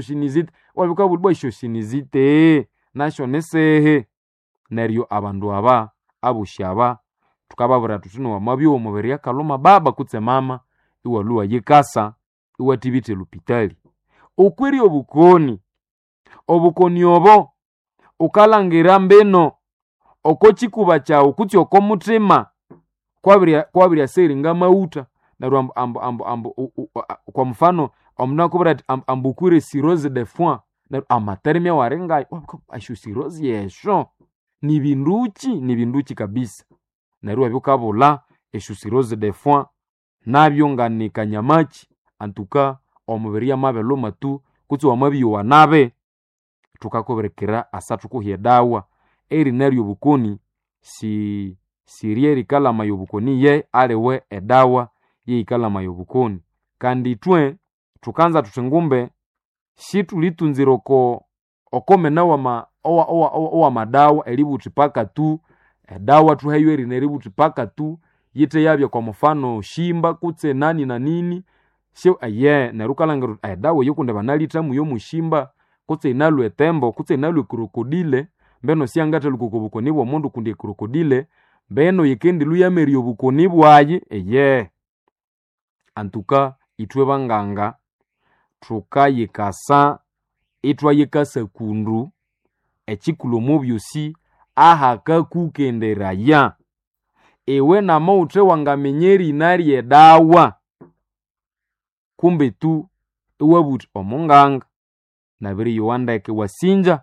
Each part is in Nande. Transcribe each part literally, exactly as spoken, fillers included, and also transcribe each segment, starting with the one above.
Sinizite wabikabulibwa esyo sinizite nasyo nisihi. Neryo abandu aba abosi aba thukababwira thuthi wamabya omubiri akalhuma baba kutse mama iwalhwa iwayikasa iwathibitha elhupitali. Okwiri obukoni, obukoni obo wukalhangira mbino oko kyikuba kyaghu kutse oko muthima kwabiryasegheringa amaghutha neryo ambu ambu ambu ambu kwa mfano omundu inakubwira athi ambu wukwire cirrhose de foie neryo amateremya awalingayo esyo cirrhose esyo nibinduki nibinduki kabisa. Neryo iwabya wukabulha esyo cirrhose de foie nabyo ngani kanyamakyi antuka omubiri amabilhuma tu kutse wamabyowa nabi thukakubirikira asa thukuha edawa. Erina ryobukoni si siryerikalamaya obukoni ye aliwe edawa yeyikalamaya obukoni. Kandi ithwe thukanza thuthi ngumbe sithulithunzira oko okomena wama owamadawa eribugha wuthi paka tu edawa thuheyo erina eribugha wuthi paka tu yithe yabya kwa mufano shimba kutse nani na nini syo aye neryo wukalhangira wuthi edawa eyo kundi banalithamu yomushimba kutse yinalwa etembo kutse yinalwa ecrocodile mbeno syangathalhuka oko bukoni bw'omundu kundi ecrocodile mbeno yikendilhwa yamerya obukoni bwayi eyehe. Antuka ithwe banganga thukayikasa ithwayikasa kundu ekikulhu omo byosi ahakakukenderaya. Iwe namawuthe wangaminya erina ry'edawa kumbe tu iwabugha wuthi omunganga nabiriyowa ndeke wasinja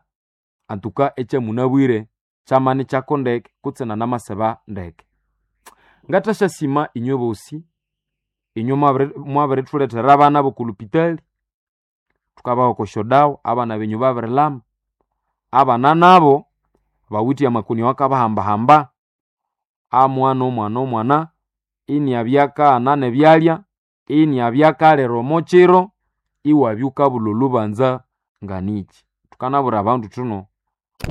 antuka ekyamunabwire kyamanikyako ndeke kutse nanamasiba ndeke. Ngathasyasimba inywe bosi inywe mwabirithulethera abana b'oko lhupitali thukabaha oko syodawa abana benywe babirilhama. Abana nabo bawithe amakoni awakabahambahamba amwana omwana omwana iniabya akaghana n'ebyalya iniabya akalira omo kiro iwabya wukabulha olhubanza nganiki. Thukanabwira abandu thuno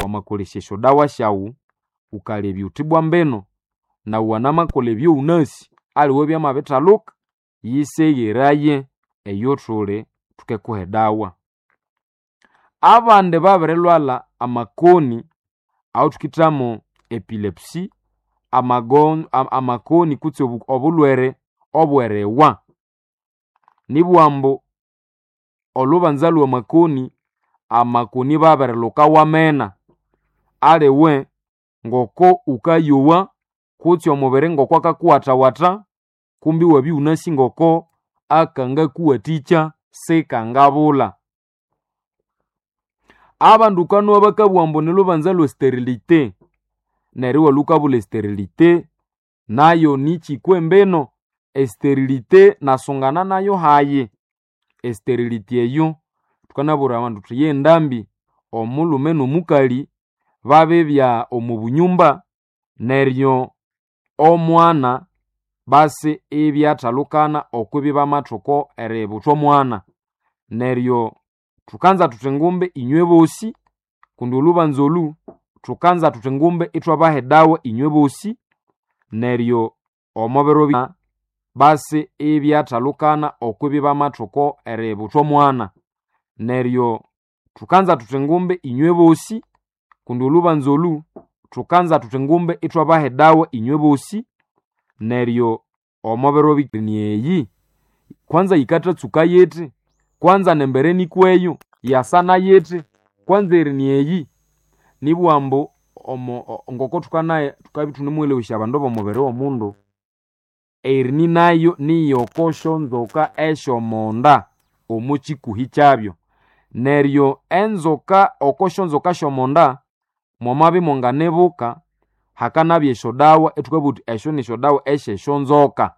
wamakolesya esyodawa syaghu wukalebya wuthi bwa mbino nawu wanamakolha ebyowunasi aliwe byamabithalhuka yisegheraye eyothuli thukekuha edawa. Abandi babirilhwalha amakoni awathukithamo epilepsy amakoni kutse obulhwere obweriwa nibugha ambu olhubanza lwamakoni amakoni babirilhuka wamena aliwe ngoko wukayowa kutse omubiri ngoko akakuwathawatha kumbi iwabya iwunasi ngoko akangakuwathikya sikangabulha. Abandu wukanowa bakabugha ambu nilhubanza lwe sterilite neryo iwalhwa wukabulha esterilite nayo nikyikwa embino. Esterilite nasungana nayo hayi. Esterilite eyo thukanabwira abandu thuthi yendambi omulhume n'omukali babibya omo bunyumba neryo omwana basi ibyathalhukana okwibya bamathuka eributha omwana. Neryo thukanza thuthi ngumbi inywe bosi kundi olhubanza olhu thukanza thuthi ngumbi ithwabaha edawa inywe bosi neryo omo biro basi ibyathalhukana okwibya bamathuka eributha omwana. Neryo thukanza thuthi ngumbi inywe bosi kundi olhubanza olhu thukanza thuthi ngumbi ithwabaha edawa inywe bosi neryo omo biro eyi kwanza yikathatsuka yithi kwanza nembere nikweyo yasana yithi kwanza erini eyi nibugha ambu omo ngoko thukanaye thukabya ithunemuwelewesya abandu b'omubiri w'omundu erini nayo niyoko syonzoka esy'omonda omo kikuhi kyabyo. Neryo enzoka oko syonzoka sy'omonda mwamabya imwanganibuka hakanabya esyodawa ithukabugha thuthi esyo nisyodawa esyesyonzoka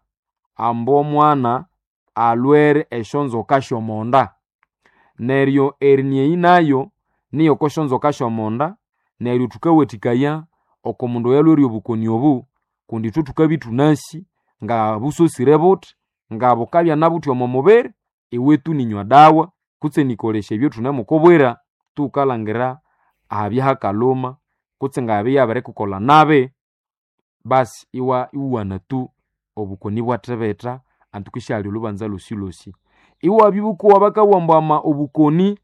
ambu omwana alhwere esyonzoka sy'omonda. Neryo erini eyi nayo niyoko syonzoka sy'omonda neryo thukawathikaya oko mundu oyalhwere obukoni obu kundi ithwe thukabya ithunasi ngabusosire buthi ngabukabya nabuthi omo mubiri iwe tu ninywa dawa kutse nikolesya ebyathunamukubwira tu wukalhangira ahabya hakalhuma kutse ngabya yabirikukolha nabi basi iwa iwana tu obukoni ibwathibitha antuka isyalya olhubanza lhosilhosi. Iwabya ibukowa bakabugha ambu ama obukoni